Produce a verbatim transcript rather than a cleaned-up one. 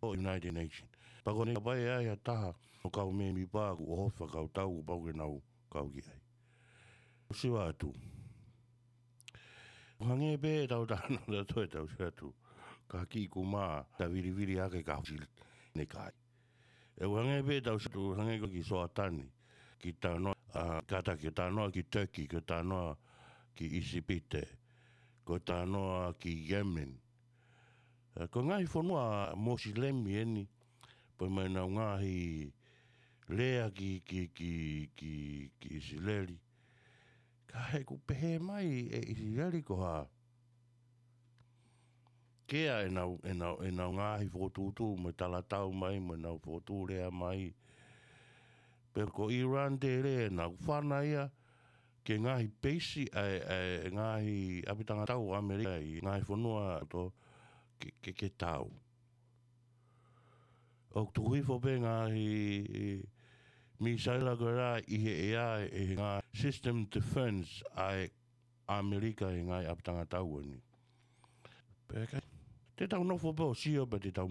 ʻo e United Nations. Pea ko ʻene ʻikai ai ha taha ʻo e kau mēmipa ʻoku ʻohofi fakakautau ʻoku pau ke nau kau ki ai. Sio atu. Hangē pē ʻetau talanoa ʻatautolu ʻetau sio atu. Ka kiʻi kumā, ta vilivili hake ka husi ne kai. ʻE hangē pē ʻetau sio atu, hangē ko ki Soatani, ki talanoa, ʻa, kātaki talanoa ki Turkey, ki talanoa ki ʻIsipite, ko e talanoa ki Yemen. ʻE, ko e ngaahi fonua Mosilemi eni, pea mo ʻenau ngaahi lea ki, ki, ki, ki, ki ʻIsileli. Ka he ʻoku pehē mai ʻe ʻIsileli ko ha. Kea ʻenau, ʻenau, ʻenau ngaahi fokotuʻutuʻu mo e talatau mai, mo ʻenau fokotuʻu lea mai. Pea ko ʻIran te lea ʻenau fana ia, ke ngaahi peisi ʻa e, ʻa e ngaahi ʻapitanga tau ʻAmelika ʻi he ngaahi fonua ʻo e loto ke, ke, ke tau. ʻOku tuku hifo pē ngaahi misaila ko ē ʻi he ʻea ʻe he ngaahi system defense ʻa e ʻAmelika ʻi he ngaahi ʻapitanga tau eni. Pea ka, te tau nofo pē ʻo sio pea te tau